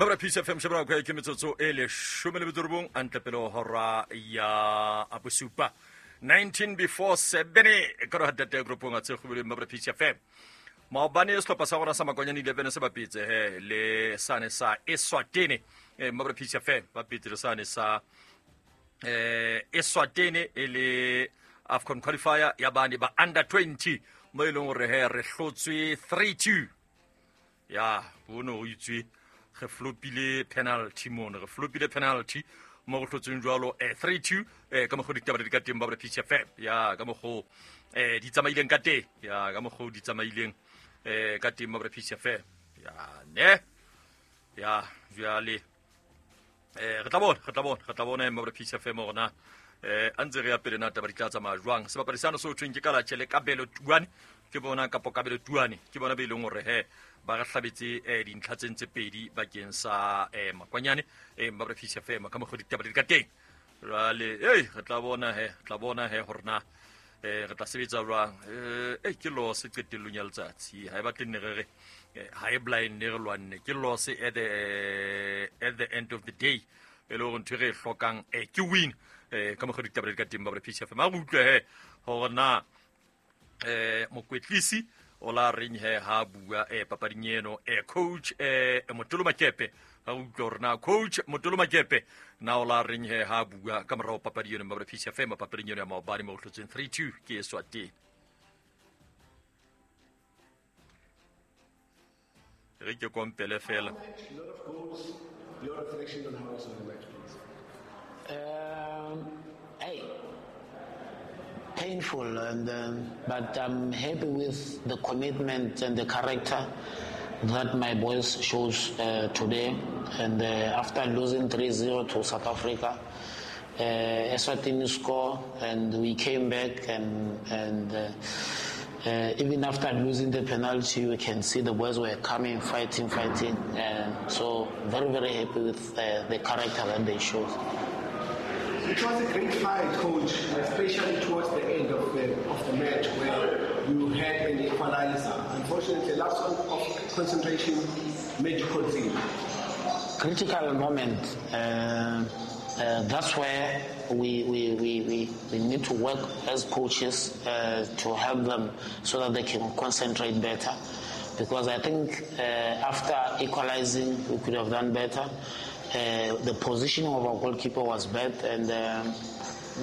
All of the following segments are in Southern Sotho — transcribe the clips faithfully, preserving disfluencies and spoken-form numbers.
Mabra Peace F M shebra kwa ke metsotso e leshome le metso robong antle pele hora ya bosupa nineteen before seven ka re hatete groupong a tshegobile Mabra Peace F M. Maobane sehlopha sa rona sa Makwanyane eleven se bapetse he le sane sa Eswatini eh Mabra Peace F M bapetse le sane sa eh Eswatini e le AFCON qualifier ya bane ba under twenty mo e leng hore he re hlotswe three two ya bono o itswe re flopile penalty mono re flopile penalty mo go hlotsweng jwalo eh three two eh ka mokgo ditaba di ka teng ba Mabra Peace F M ya ka mokgo eh di tsamaileng ka teng ya ka mokgo di tsamaileng eh ka teng Mabra Peace F M ya ne ya jwale eh re tla bona re tla bona re tla bona Mabra Peace F M rona eh a ntse re ya pele na taba di tla tsamaya jwang sebapadi sano se ho thweng ke Kalatjhe le Kabelo Tuane ke bona kapo Kabelo Tuane ke bona be leng hore he ba re hlabetse eh dintlha tse ntse pedi bakeng sa eh Makwanyane eh Mabra Peace F M ka mokgo ditaba di ka teng jwale ei re tla bona he tla bona he hore na eh re tla sebetsa jwang eh eh ke loss qetellong ya letsatsi ha e batle nne re re ha e blind ne re lwanne ke loss at the at the end of the day e le hore ntho e re e hlokang eh ke win eh ka mokgo ditaba di ka teng Mabra Peace F M a re utlwe he hore na eh mokwetlisi o la reng he ha bua eh papading eno eh coach eh Motolo Makepe ha utlwe hore na coach Motolo Makepe na o la reng he ha bua ka morao papadi eno Mabra Peace F M papading eno ya maobane mo hlotsweng three two ke Eswatini re ke kompele fela. Your reflection on how was the match, please. Um, hey, painful, and um, but I'm happy with the commitment and the character that my boys shows uh, today. And uh, after losing three zero to South Africa, uh, Eswatini score, and we came back, and and. Uh, Uh, even after losing the penalty, we can see the boys were coming, fighting, fighting. And so very, very happy with uh, the character that they showed. It was a great fight, coach, especially towards the end of the, of the match where you had an equalizer. Unfortunately, last one of concentration made you concede. Critical moment. Uh, uh, that's where we, we, we, we, we need to work as coaches uh, to help them so that they can concentrate better. Because I think uh, after equalizing, we could have done better. Uh, the positioning of our goalkeeper was bad, and um,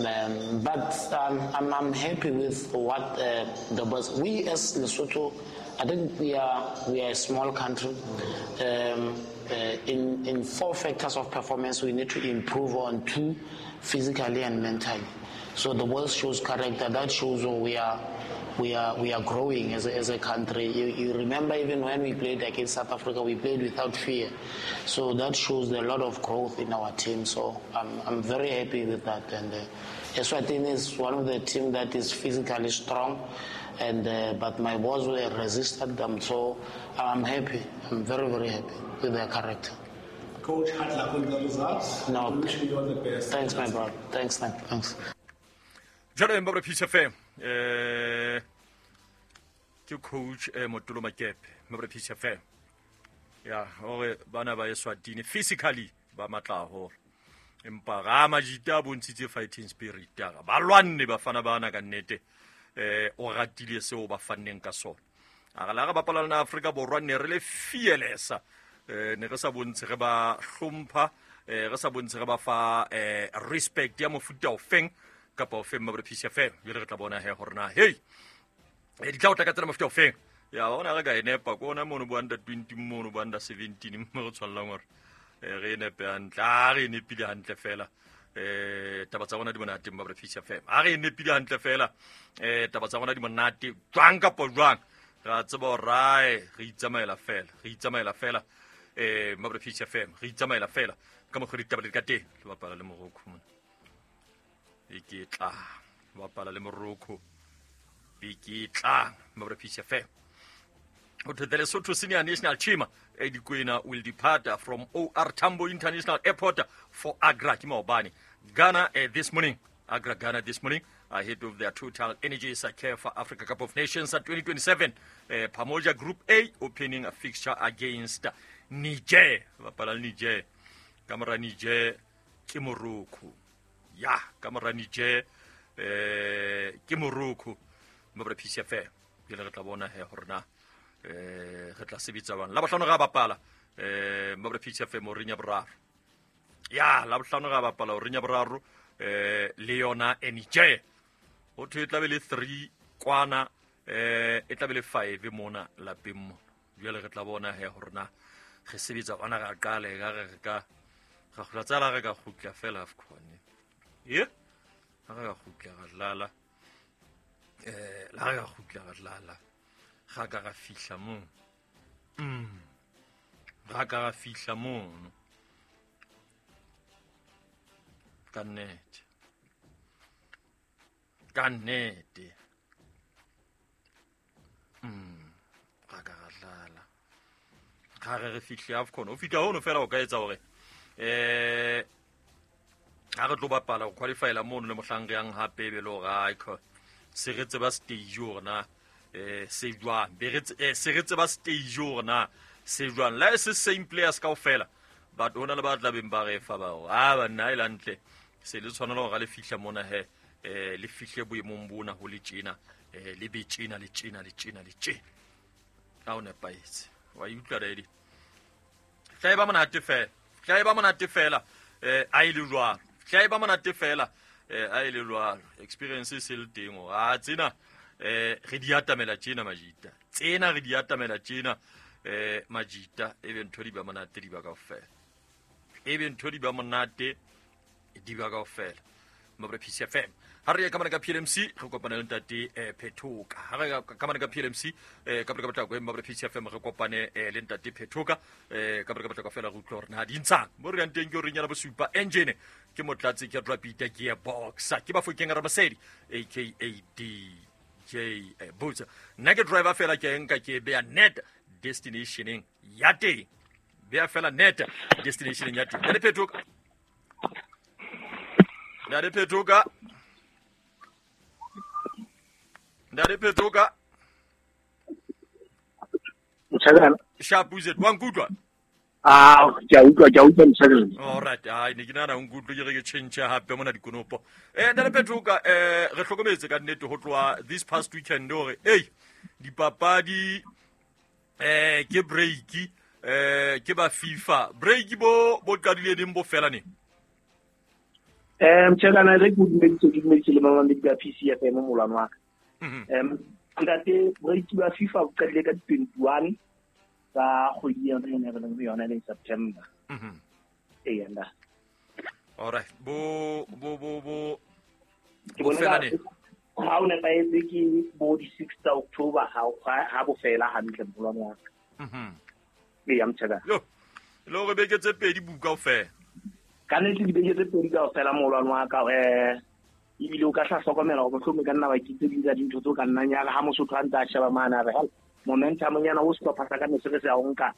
um, but um, I'm, I'm happy with what uh, the boys. We as Lesotho, I think we are we are a small country. Um, uh, in in four factors of performance, we need to improve on two, physically and mentally. So the world shows character. That shows we are. We are we are growing as a, as a country. You, you remember even when we played against South Africa, we played without fear. So that shows a lot of growth in our team. So I'm I'm very happy with that. And uh, Eswatini is one of the team that is physically strong, and uh, but my boys were resisted them. So I'm happy. I'm very very happy with their character. Coach, hard luck on the results. No, we wish you all the best. Thanks, my brother. Thanks, man. Thanks. Jalo Mabra Peace F M eh ke coach eh Motolo Makepe Mabra Peace F M ya hore bana ba Eswatini physically ba matla haholo empa ga majita a bontshitse fighting spirit ya ba lwanne bafana bana ka nnete eh o ratile seo ba fanneng ka sona a re la re bapala le Afrika Borwa ne re le fearless eh ne re sa bontshe re ba hlompha eh re sa bontshe re ba fa eh respect ya mofuta o feng kapa o feng Mabra Peace F M jwale re tla bona he hore na hey e di tla o tla ka tsela mofuta o feng ya bona re ka e nepa ko ona mono bo under twenty mono bo under seventeen mo re tshwallang hore re e nepe hantle a re e nepile hantle fela eh taba tsa rona di monate Mabra Peace F M a re e nepile hantle fela eh taba tsa rona di monate jwang kapa jwang ra tseba hore rae re itsamaela fela re itsamaela fela eh Mabra Peace F M re itsamaela fela ka mokgwa ditaba di ka teng le bapala le Morocco mona e ke tla bapala le Morocco e ke tla Mabra Peace F M. To the Lesotho senior national team, Eddie Kwena will depart from O R Tambo International Airport for Agra, ke maobane, Ghana uh, this morning. Agra, Ghana this morning. ahead of their Total Energies C A F Africa Cup of Nations at twenty twenty-seven. Uh, Pamoja Group A opening a fixture against Niger. Bapala Niger. Kamora Niger ke Morocco. Ya, kamora Niger eh ke Morocco. Mabra P C F. Ke le re tla bona he hore na eh re tla sebetsa bang. La bohlano ga bapala eh mabra P C F Mourinho boraro. Ya, la bohlano ga bapala Mourinho boraro eh le yona Niger. Ho thwe e tla be le three kwana, eh e tla be le five mona lapeng mona. Jwale re tla bona he hore na re sebetsa ona ra qale ka re re ka ra kgutla tsala re ka kgutla fela AFCON. Ye? Ha re ka kgutla ra dlala. Eh la re ka kgutla ra dlala. Ga ka ra fihla mo. Mm. Ga ka ra fihla mono. Ka nnete. Ka nnete. Mm. Ga ka ra dlala. Ga re re fihle AFCON. O fihla hono fela o ka etsa hore eh ha re tlo bapala go qualifyela mono le mohlang re yang hape be le hore ai se re tseba stage hore na eh se jwang be re se re tseba stage hore na se jwang la se same players kaofela, but hona le ba tla beng ba re fa ba hore a banna e lantle se le tshwanela hore le fihla mona he eh le fihle boemong bona ho le tjena eh le be tjena le tjena le tjena le tjena ka o nepahetse wa utlwa ready tla e ba monate fela tla e ba monate fela eh a ile jwalo tla e ba monate fela eh a ile jwalo experience se le teng o a tsena eh re di atamela tjena majita tsena re di atamela tjena eh majita e be ntho di ba monate di ba kaofela e be ntho di ba monate di ba kaofela mabra P C F M. Ha re ya ka mana ka P L M C re kopane le ntate eh Phethoka. Ha re ka mana ka P L M C eh ka ka potlako mabra P C F M re kopane le ntate Phethoka eh ka ka potlako fela re utlwa hore na di ntshang mo re yang teng ke re nyana bosupa engine ke motlatsi ke Rapida gearbox ke ba fokeng Ramasedi aka D J Botsa nna ke driver fela ke nka ke beya net destinationeng ya teng beya fela net destinationeng ya teng. Ntate Phethoka, Ntate Phethoka, Ntate Phethoka. Motshakana. Sharp wa nkutlwa? Ah, ke a utlwa, ke a utlwa Motshakana. All right, ai ne ke nahana o nkutlwe ke re ke change hape mona dikonopo. Eh Ntate Phethoka, eh re hlokometse ka nnete ho tloha this past weekend hore ei dipapadi eh ke break eh ke ba FIFA break bo bo qadile neng bo fela neng? Eh Motshakana, re ke dumeditse ke dumeditse le mamamedi ba P C F M molwane wa ka. Em ntate, break ba FIFA bo qadile ka twenty-one tsa kgwedi ena e re leng ho yona e leng September. Mhm. Ee, nda. All right, bo bo bo bo Ke bo bona fela ka neng? Ha o nepahetse ke bo di six tsa October ha ha bo fela hantle molwane wa ka. Mhm. Ee, Motshakana. Yo le hore beke tse pedi buka kaofela. Ka nnete dibeke tse pedi kaofela molwane wa ka, eh ebile o ka hla hlokomela hore mohlomong e ka nna ba ke tse ding tsa dintho tseo ka nnang ya re ha Mosotho a ntse a sheba mane a re hela momentum nyana o sehlopha sa ka ne se re se a o nka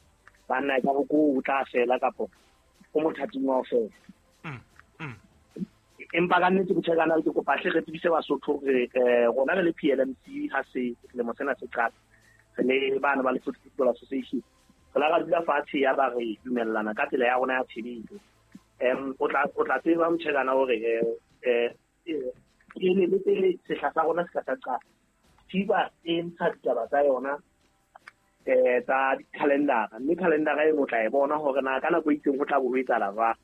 banna e ka re ko o tla fela kapo o mothating wa ho fela. Mm. Mm. Empa ka nnete Motshakana, ke kopa hle re tsebise Basotho hore eh rona re le P L M C ha se selemo sena se qala re le bana ba Lesotho Football Association re la ra dula fatshe ya ba re dumellana ka tsela ya rona ya tshebetso. Em o tla o tla tseba Motshakana hore eh eh pele le pele sehla sa rona se ka sa qala FIFA e ntsha ditaba tsa yona eh tsa di-calendar, mme calendar eno o tla e bona hore na ka nako e itseng ho tla bo ho etsahala jwang.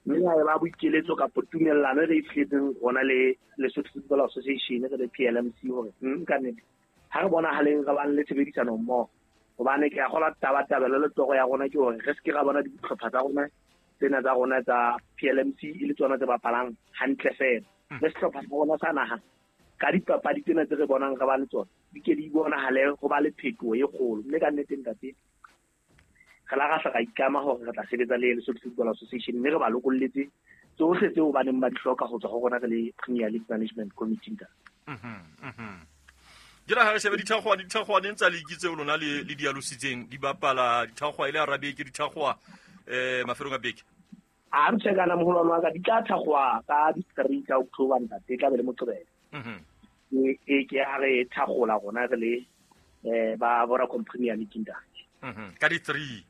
Mme ha e ba boikeletso kapa tumellano e re e fihletseng rona le Lesotho Football Association re le P L M C hore ka nnete ha re bonahaleng re bang le tshebedisano mmoho hobane ke a kgolwa tabatabelo le toro ya rona ke hore re se ke ra bona dihlopha tsa rona tsena tsa rona tsa P L M C e le tsona tse bapalang hantle fela le sehlopha sa rona sa naha ka dipapadi tsena tse re bonang re ba le tsona di ke di bonahale ho ba le phetoho e kgolo. Mme ka nnete ntate re la ra hla ra itlama hore re tla sebetsa le Lesotho Football Association mme re ba lokolletse tsohle tseo ba neng ba di hloka ho tswa ho rona re le Premier League Management Committee ntate. Mhm mhm Ke la ha re shebe dithakgwa dithakgwa neng tsa league tseo lona le le di alositseng di bapala dithakgwa ile a beke dithakgwa eh mafelong a beke. A Motshakana moholwane wa ka, di tla thakgwa ka di three tsa October ntate, e tla be le Moqebelo. Mm-hmm. E ke ha re thagola rona re le eh ba Vodacom Premier League ntate. Mhm. Ka di three.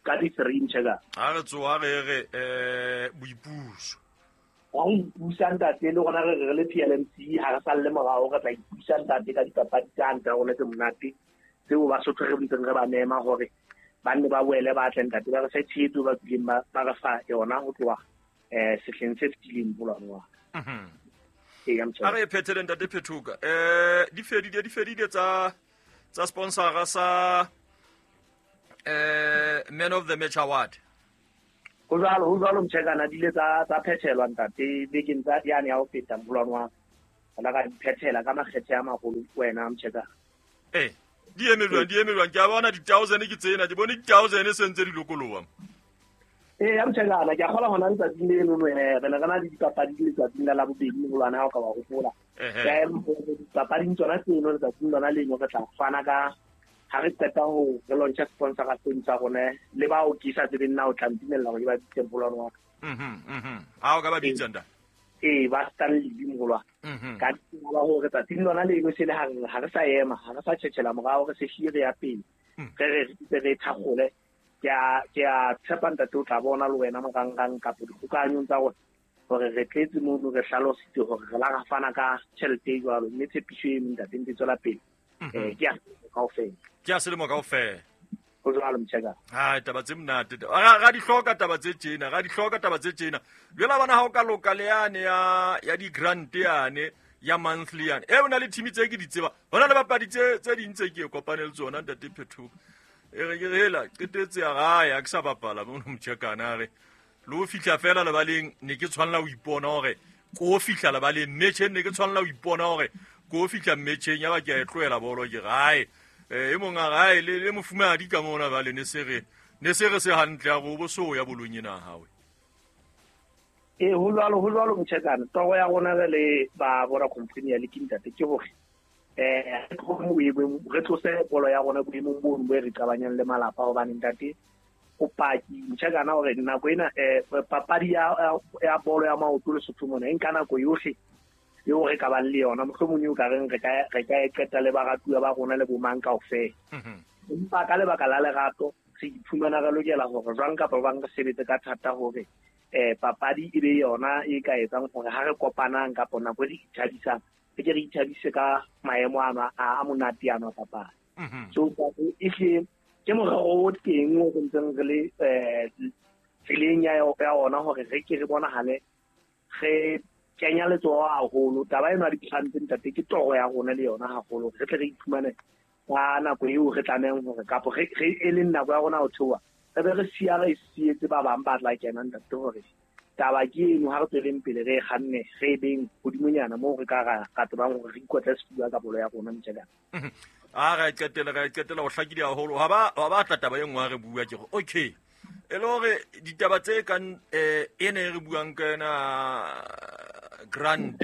Ka di three Mtshekana. Ha re tsoa re re eh boipuso. Wa ho ipusa ntate le rona re re le P L M C ha re salle morao re tla ipusa ntate ka dipapadi tsa ntate rona tse monate tseo Basotho re ntseng re ba mema hore ba nne ba boele ba tle ntate ba re fe tshehetso ba bileng ba ba re fa yona ho tloha eh sehleng se fetileng molwane wa. Mhm. Ee, ya Mtshekana. A re phethele ntate Phethoka. Eh di fedile di fedile tsa tsa sponsora sa eh Man of the Match Award. Ho jwalo ho jwalo Mtshekana di ile tsa tsa phethelwa ntate bekeng tsa yane ya ho feta molwane wa. Re ka di phethela ka makgethe a maholo wena Mtshekana. Eh di eme jwang di eme jwang ke a bona di thousand ke tsena ke bone di thousand se ntse di lokoloha. Eh ya Mtshekana ke a kgola hona letsatsing leno no eh re ne re na le dipapadi letsatsing la Labobedi molwane ha o ka wa hopola. Eh dipapading tsona tseno letsatsing lona leno re tla fana ka ha re qeta ho re launcha sponsor ka seng sa rona le bao ke sa tsebeng na o tla ntumella hore ke ba bitse molwane wa ka. Mhm mhm. Ha o ka ba bitsa nda. Eh ba Stanley molwane. Mhm. Ka ba hore tsatsing lona leno se le ha re ha re sa ema ha re sa tjhetjhela morao re se hlile re ya pele. Re re re re thakgole. Ke a ke a tshepa ntate o tla bona le wena marangrang kapa dikgokanyong tsa rona hore re tletse mono re hlalositse hore re la ra fana ka tjhelete e jwalo mme tshepiso e ntate ntse tswela pele. Eh ke a kaofela. Ke a selemo kaofela. Ho jwalo Mtshekana. Ha taba tse monate. Ra ra di hloka taba tse tjena, ra di hloka taba tse tjena. Jwale bana ha o ka loka le yane ya ya di grant yane ya monthly yane. E ona le team tse ke di tseba. Hona le bapadi tse tse ding tse ke kopane le tsona ntate Phethoka. E re ke hela qetetse ya gae a ke sa bapala mo Mtshekana re le ho fihla fela lebaleng ne ke tshwanela ho ipona hore ko fihla lebaleng metjheng ne ke tshwanela ho ipona hore ko fihla metjheng ya ba ke a e tlohela bolo ke gae eh e mong a gae le le mofumadi ka mona ba le ne se re ne se re se hantle ya go bo so ya bolong ena hawe. Eh ho jwalo ho jwalo Mtshekana toro ya rona re le ba Vodacom Premier League ntate ke hore eh re tlose bolo ya rona boemong bono bo re qabanyang le malapa hobane ntate o paki Mtshekana hore nako ena eh papadi ya ya bolo ya maoto Lesotho mona e nka nako yohle eo re ka bang le yona mohlomong eo ka reng re ka re ka e qeta le baratuwa ba rona le bomang kaofela. Empa ka lebaka la lerato re iphumana re lokela hore jwang kapa bang re sebetse ka thata hore eh papadi e be yona e ka etsang hore ha re kopanang kapa nako e re ithabisang re ke re ithabise ka maemo ano a monate ano a papadi. So ehle ke morero o teng o re ntseng re le eh tseleng ya ya ona hore re ke re bonahale re kenya letsoho haholo. Taba eno ya di-grant ntate ke toro ya rona le yona haholo re tle re iphumane ka nako eo re tlamehang hore kapo re e leng nako ya rona ho theoha re be re siya re sietse ba bang ba tla kena ntate hore taba ke eno ha re tsweleng pele re kganne re beng hodimonyana moo re ka ra ka tsebang hore re ikotle sefuba ka bolo ya rona Mtshekana. A re qetela re qetela ho hlakile haholo ha ba ha ba tla taba e nngwe ha re bua ke gore okay e le hore ditaba tse kang eh ene re buang ka yona grant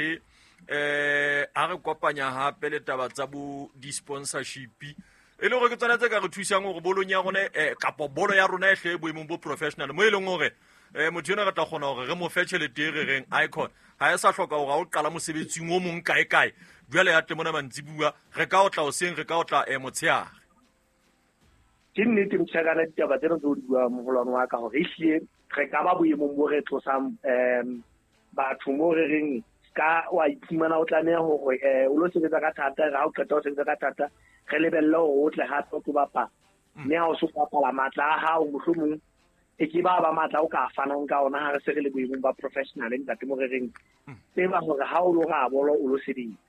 eh ha re kopanya hape le taba tsa bo di-sponsorship e le hore ke tsona tse ka re thusang hore bolong ya rona eh kapo bolo ya rona e hle boemong bo professional mo e leng hore eh motho ena re tla kgona hore re mo fe tjhelete e re reng icon ha e sa hloka hore ha o qala mosebetsing o mong kae kae jwale ya tle mona mantsibuwa re ka o tla hoseng re ka o tla eh motshehare. Ke nnete Mtshekana ditaba tsena tse o di buang moholwane wa ka hore ehlile re ka ba boemong bo re tlosang um batho mo re reng ka wa iphumana o tlameha hore eh o lo sebetsa ka thata ha o qeta ho sebetsa ka thata re lebelle hore o tle hape o tlo bapala mme ha o so bapala matla a hao mohlomong e ke ba ba matla o ka fanang ka ona ha re se re le boemong ba professional ntate mo re reng tseba hore ha o lo ra bolo o lo sebetsa.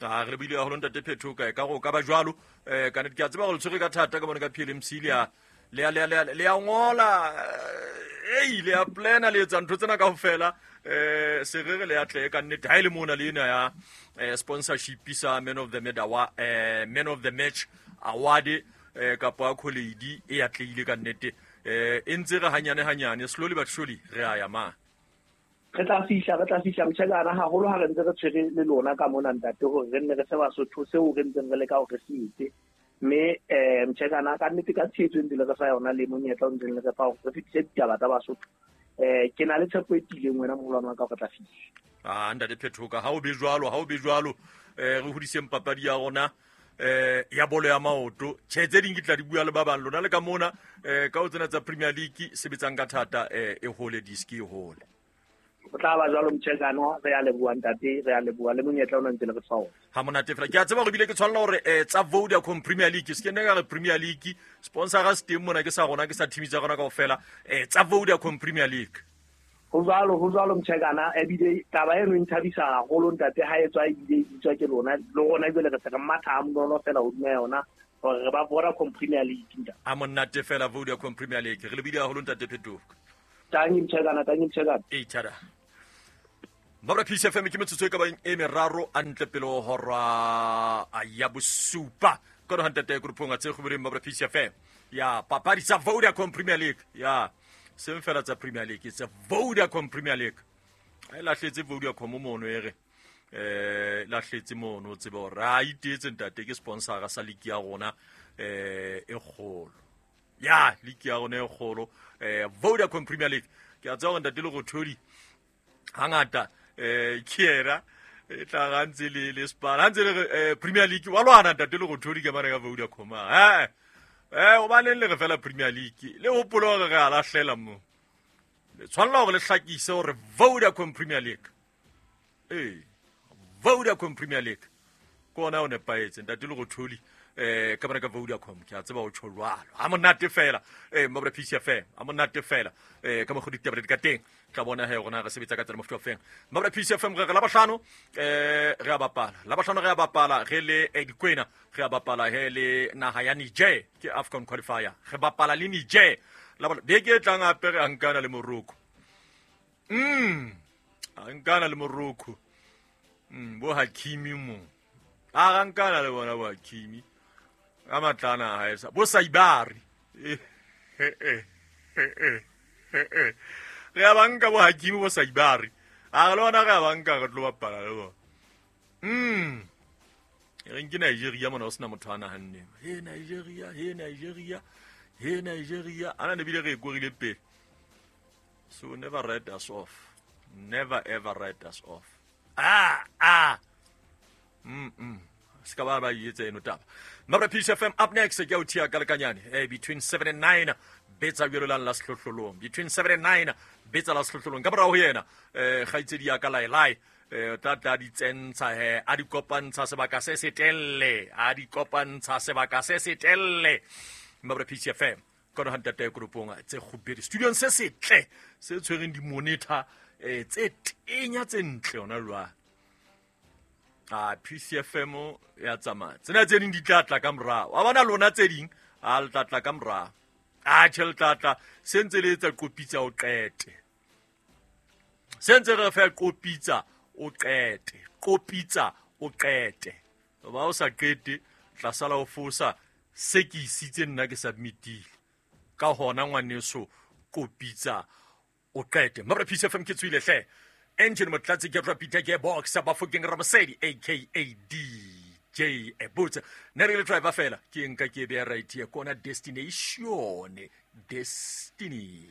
A re bile haholo ntate Phethoka ka go ka ba jwalo eh ka nnete ke a tseba gore tshwere ka thata ka bone ka P L M C le a le a le a le a ngola ei le a plana le etsa ntho tsena kaofela eh se re re le atle ka nnete ha ile mona le ena ya sponsorship sa Man of the Match eh Man of the Match award eh kapa accolade e atleile ka nnete eh e ntse re hanyane hanyane slowly but surely re a ya ma re tla fihla re tla fihla Mtshekana haholo ha re ntse re tshwere le lona ka mona ntate hore re nne re se Basotho seo re ntseng re leka hore se etse mme eh Mtshekana ka nnete ka tshehetso e ntse le re fa yona le monyetla o ntseng le re fa hore re fetise ditaba tsa Basotho eh ke na le tshepo e tiileng wena moholwane wa ka hore re tla fihla. Ah ntate Phetoka ha o be jwalo ha o be jwalo eh re hodiseng papadi ya rona eh ya bolo ya maoto. Tjhe tse ding ke tla di bua le ba bang lona le ka mona eh ka o tsena tsa Premier League sebetsang ka thata eh e hole diski e hole. O tla ba jwalo mtjhekano re ya leboha ntate re ya leboha le monyetla ona ntse le re fa ona. Ha monate fela ke a tseba hore bile ke tshwanela hore eh tsa Vodacom Premier League se ke nne ka re Premier League sponsor ga se teng mona ke sa rona ke sa team tsa rona kaofela eh tsa Vodacom Premier League. Ho jwalo ho jwalo mtjhekana ebile taba eno e nthabisa haholo ntate ha e tswa ebile e bitswa ke lona le rona ebile re se re matha ha monono fela hodima yona hore re ba Vodacom Premier League ntate. Ha monate fela Vodacom Premier League re lebile haholo ntate Phetoka. Tangi mtjhekana tangi mtjhekana. E tjhada. Mabra P C F M ke metsotso e ka bang e meraro a ntle pele ho hora ya bosupa. Ka hore ntate groupong a tse kgobeleng Mabra P C F M. Ya papadi tsa Vodacom Premier League. Ya seng fela tsa Premier League tsa Vodacom Premier League. A lahletse Vodacom mono e re eh lahletse mono o tsebe hore a itetse ntate ke sponsor sa league ya rona eh e kgolo. Ya league ya rona e kgolo eh Vodacom Premier League. Ke a tseba hore ntate le Rothodi hangata eh kiera e tla ga ntse le le spar ha ntse le Premier League wa lwana ntate le Rothodi ke mane ka Vodacom eh eh o baneng le re fela Premier League le hopolo hore re a lahlela mo le tshwanela hore le hlakise hore Vodacom Premier League eh Vodacom Premier League ke ona o nepahetse ntate le Rothodi eh ka bana ka Vodacom ke a tseba o tjho jwalo ha monate fela eh Mabra P C F M ha monate fela eh ka mokgo ditaba di ka teng tla bona he rona re sebetsa ka tsela mofuta ofeng Mabra P C F M re re la bahlano eh re a bapala la bahlano re a bapala re le Dikwena re a bapala he le naha ya Niger ke AFCON qualifier re bapala le Niger la beke e tlang hape re ankana le Morocco mm ankana le Morocco mm bo Hakimi mo a ankana le bona bo Hakimi ka matlana ha esa bo Saibari eh eh eh eh eh re a banka bo Hakimi bo Saibari a re lona re a banka re tlo bapala le bona mm re nke Nigeria mona o sena motho a nahanneng he Nigeria he Nigeria he Nigeria ana ne bile re e korile pele so never write us off never ever write us off ah ah mm mm ska ba ba yetse eno taba Mabra P C F M up next ke o thia ka lekanyane eh between seven and nine betsa jwalo la sehlohlolong between seven and nine betsa la sehlohlolong ka morao ho yena eh kgaitsedi ya ka laelai eh tla tla di tsentsha he a di kopantsha sebaka se setelle a di kopantsha sebaka se setelle Mabra P C F M ka no hantate groupong tse kgubedi studio se setle se tshwereng di monitor eh tse tenya tse ntle hona jwale. Ah P C F M ya tsamaya tsena tse ding di tla tla ka morao wa bona lona tse ding a le tla tla ka morao a tjhe le tla tla se ntse le etsa qopitsa o qete se ntse re fa qopitsa o qete qopitsa o qete ba o sa qete tla sala o fosa se ke isitse nna ke submitile ka hona ngwaneso qopitsa o qete Mabra P C F M ke tswile hle Engine Motlatsi ke Rapita ke box Bafokeng Ramosedi aka D J Ebutsa ne re le driver fela ke nka ke be right here kona destination destiny.